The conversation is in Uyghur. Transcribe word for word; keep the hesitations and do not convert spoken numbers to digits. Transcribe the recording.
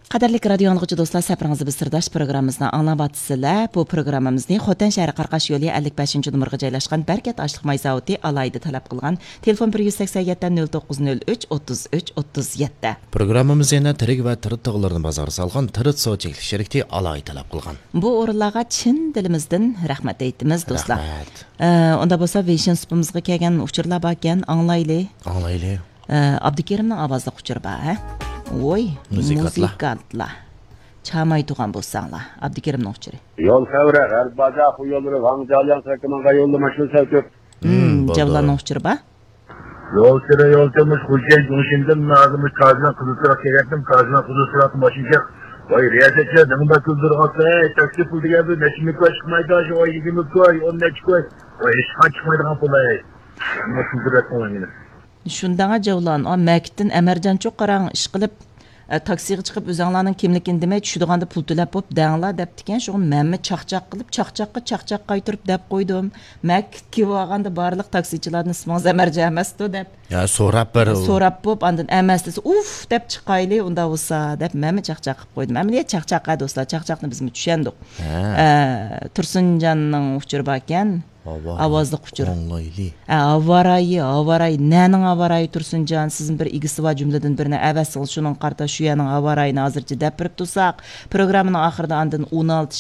قەدىرلىك رادىيو ئاڭلىغۇچى دوستلار، سەپىرىڭىزدە بىز سىرداش پروگراممىمىزنى ئاڭلاۋاتىسىلەر. بۇ پروگراممىمىزنى خوتەن شەھىرى قاراقاش يولى ئەللىك بەشىنچى نومۇرغا جايلاشقان بەرىكەت ئاشلىق ماي زاۋۇتى ئالاھىدە تەلەپ قىلغان. تېلېفون بىر يۈز سەكسەن يەتتە، نۆل توققۇز نۆل ئۈچ، ئوتتۇز ئۈچ، ئوتتۇز يەتتە. پروگراممىمىز يەنە تىرىك ۋە تىرىت تاغلىرىنى بازارغا سالغان تىرىت سۇ چەكلىك شىركىتى ئالاھىدە تەلەپ قىلغان. بۇ ئورۇنلارغا چىن دىلىمىزدىن رەھمەت ئېيتىمىز، دوستلار. رەھمەت. ئە، ئۇندا بولسا ۋېيشىن سۇپىمىزغا كەلگەن ئۇچۇرلار باركەن، ئاڭلايلى. ئاڭلايلى. ئە، ئابدۇكېرىمنىڭ ئاۋازلىق ئۇچۇرى بار، ھە؟ ۋوي، مۇزىكانتلار. مۇزىكانتلار. چاماي تۇغان بولساڭلار، ئابدۇكېرىمنىڭ ئۇچۇرى. يول خەۋىرى، غەرب بازار خۇيوللىرى، ۋاڭجالياڭ سەكىمىڭغا يوللىما شۇ سەۋتۈپ. ھىم، ھىم، بولدى. جەۋلاننىڭ ئۇچۇرى بار. يول سىرى يول تېمىش، خوجايىن جۇڭشىندىن ھازىر مۇشۇ تاجنىڭ قىزىل سىراق كەلگەنتىم، تاجنىڭ قىزىل سىراقتىن ماشىنا چىق. ۋاي، رىياسەتچى، نېمە بەك كۈلدۈرۈۋاتىسەن؟ ھەي، تاكسى پۇل دېگەن بىر نەچچە مىڭ كوي چىقمايدۇ، شۇ ئاي يىگىرمە كوي، ئون نەچچە كوي. ۋاي، ھېچقانداق چىقمايدىغان پۇل، ھەي. نېمە كۈلدۈرۈۋاتىسەن مېنى؟ شۇنداڭا جەۋلان، ئا، مەكىتتىن ئەمەرجانچۇ قاراڭ ئىشقىلىپ، ئە، تاكسىغا چىقىپ، ئۆزەڭلارنىڭ كىملىكىنى دېمەي، چۈشىدىغاندا پۇل تۆلەپ بوپ دەڭلار دەپتىكەن. شۇڭا مەنمۇ چاقچاق قىلىپ، چاقچاققا چاقچاق قايتۇرۇپ دەپ قويدۇم. مەكىتكە بارغاندا بارلىق تاكسىچىلاردىن ئىسمىڭىز ئەمەرجان ئەمەستۇ دەپ. يا، سوراپ بېرىڭ. سوراپ بوپ، ئاندىن ئەمەس دېسە، ئۇف دەپ چىقايلى، ئۇنداق بولسا دەپ مەنمۇ چاقچاق قىلىپ قويدۇم. ئەمەلىيەت چاقچاق ھە، دوستلار، چاقچاقنى بىزمۇ چۈشەندۇق. ھە. ئە، تۇرسۇنجاننىڭ ئۇچۇرى باركەن. ھاۋا. ئاۋازلىق ئۇچۇر. ئاڭلايلى. ھە، ھاۋارايى، ھاۋارايى. نەنىڭ ھاۋارايى، تۇرسۇنجان؟ سىزمۇ بىر ئىگىسى بار جۈملىدىن بىرنى ئەۋەتسىڭىز، شۇنىڭغا قارىتا شۇ يەرنىڭ ھاۋارايىنى ھازىرچە دەپ بېرىپ تۇرساق، پروگراممىنىڭ ئاخىرىدا ئاندىن ئون ئالتە